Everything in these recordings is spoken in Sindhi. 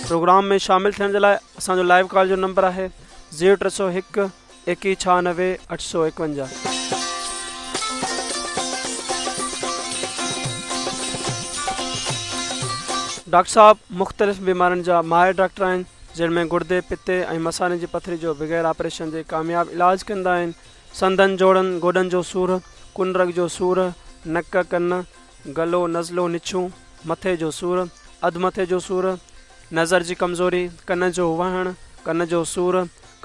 پروگرام ۾ شامل ٿيڻ جي لاء اسان جو لائيو ڪال جو نمبر آهي زيرو 301 21 96 851. ڊاڪٽر صاحب مختلف بيمارين جا ماهر ڊاڪٽر آهن جن ۾ گڙدي، پتي ۽ مثاني جي پٿري جو بغير آپريشن جي ڪامياب علاج ڪندا آهن. سنڌن، جوڙن، گوڏن جو سور، ڪن رڳ جو سور، نڪ، ڪن، گلو، نزلو، نڇون، مٿي جو سور، اڌ مٿي جو سور، نظر جي ڪمزوري، ڪن جو وهڻ، ڪن جو سور،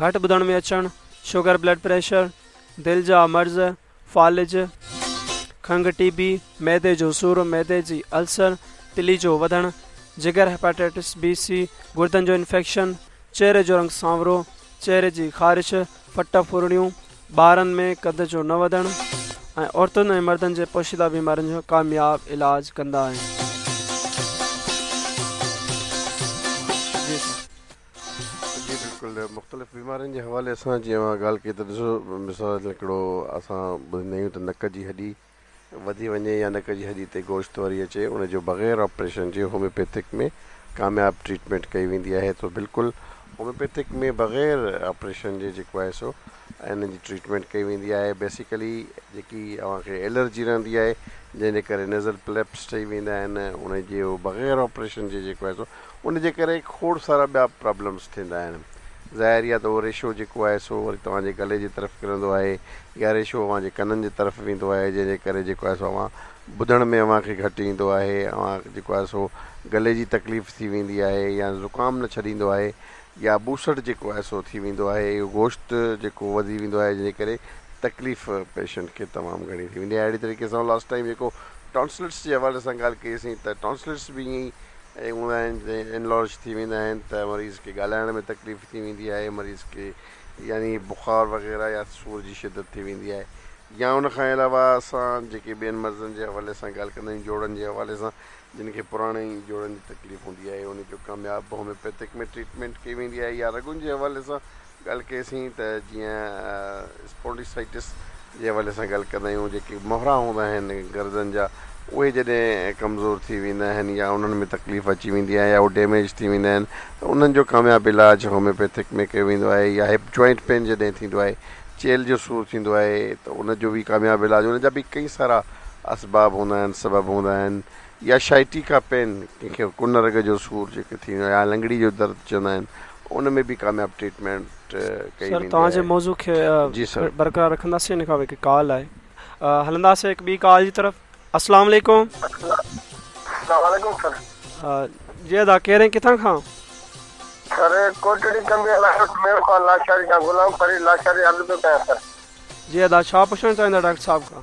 گهٽ ٻڌڻ ۾ اچڻ، شگر بلڊ پريشر، دل جا مرض، فالج، کنگهه ٽي بي، معدي جو سور، معدي جي السر، تلي جو وڌڻ، جگر هيپاٽائٽس بي سي، گردن جو انفيڪشن، چهري جو رنگ سانورو، چهري جي خارش، ڦٽ ڦرڙيون، ٻارن ۾ قد جو نه وڌڻ ۽ عورتن ۽ مردن جي پوشيده بيمارين جو ڪامياب علاج ڪندا آهن. جي سر. جي بلڪل مختلف بيمارين جي حوالي سان جيئن اوهان ڳالهه ڪئي ته ڏسو مثال هڪڙو اسان ٻڌندا آهيون ته نڪ جي هڏي وڌي وڃي يا نڪ جي هڏي تي گوشت وري اچي ان جو بغير آپريشن جي هوميوپيٿڪ ۾ ڪامياب ٽريٽمينٽ ڪئي ويندي آهي ته بلڪل هوميوپيٿڪ ۾ بغير آپريشن جي جيڪو آهي سو انهن جي ٽريٽمينٽ ڪئي ويندي آهي بيسيڪلي جيڪي اوهان کي الرجي رهندي آهي جنهن جي ڪري نيزل پليپس ٺهي ويندا آهن ان جي بغير آپريشن جي جيڪو آهي سو ان جي ڪري کوڙ سارا ٻيا پرابلمس ٿيندا آهن ظاهر يا ته اهو ريشو جيڪو آهي سو وري توهان جي گلي جي طرف ڪرندو آهي يا ريشو اوهان جي ڪنن جي طرف ويندو آهي جنهن جي ڪري جيڪو آهي سو اوهان ٻڌڻ ۾ اوهان کي گهٽ ايندو آهي اوهان جيڪو آهي سو گلي جي تڪليف ٿي ويندي آهي يا زڪام نه ڇڏيندو آهي يا ٻوسٽ جيڪو آهي سو ٿي ويندو آهي اهو گوشت جيڪو وڌي ويندو آهي جنهن جي ڪري تڪليف پيشنٽ کي تمام گهڻي ٿي ويندي آهي اهڙي طريقي سان لاسٽ ٽائيم جيڪو ٽانسلٽس جي حوالي سان ڳالهه ڪئي سين ته ٽانسلٽس به ائين ئي ۽ هوندا آهن جڏهن انلارج ٿي ويندا آهن ته مريض کي ڳالهائڻ ۾ تڪليف ٿي ويندي آهي مريض کي يعني بخار وغيره يا سور جي شدت ٿي ويندي آهي يا ان کان علاوه اسان جيڪي ٻين مرضن جي حوالي سان ڳالهه ڪندا آهيون جوڙن جي حوالي سان جن کي پراڻي جوڙن جي تڪليف هوندي آهي ان جو ڪامياب هوميوپيٿڪ ۾ ٽريٽمينٽ ڪئي ويندي آهي يا رڳن جي حوالي سان ڳالهه ڪئيسين ته جيئن اسپونڊيسائٽس جي حوالي سان ڳالهه ڪندا آهيون جيڪي مهرا هوندا آهن گردن جا اهي جڏهن ڪمزور ٿي ويندا آهن يا انهن ۾ تڪليف اچي ويندي آهي يا اهي ڊيميج ٿي ويندا آهن ته انهن جو ڪامياب علاج هوميوپيٿڪ ۾ ڪيو ويندو آهي يا هپ جوائنٽ پين جڏهن ٿيندو آهي چيلهه جو سور ٿيندو آهي ته ان جو به ڪامياب علاج ان جا به ڪئي سارا اسباب هوندا آهن سبب هوندا آهن يا شائٽيڪا پين ڪنهن کي ڪن رڳ جو سور جيڪي ٿيندو آهي يا لنگڙي جو درد چوندا آهن ان ۾ به ڪامياب ٽريٽمينٽ ڪئي سر ويندي توهان جي آهي موضوع کي جي سر. برقرار رکنداسين ان کان پوء هڪ ڪال آهي هلنداسين هڪ ٻي ڪال جي طرف السلام عليڪم. السلام عليڪم سر. جي ادا ڪير ۽ ڪٿان کان؟ سر ڪوٽڙي ڪنبي لاهور ميرو خان لاشاري کان غلام فريد لاشاري عرض پيو ڪيان سر. جي ادا ڇا پڇڻ چاهيندا ڊاڪٽر صاحب کان؟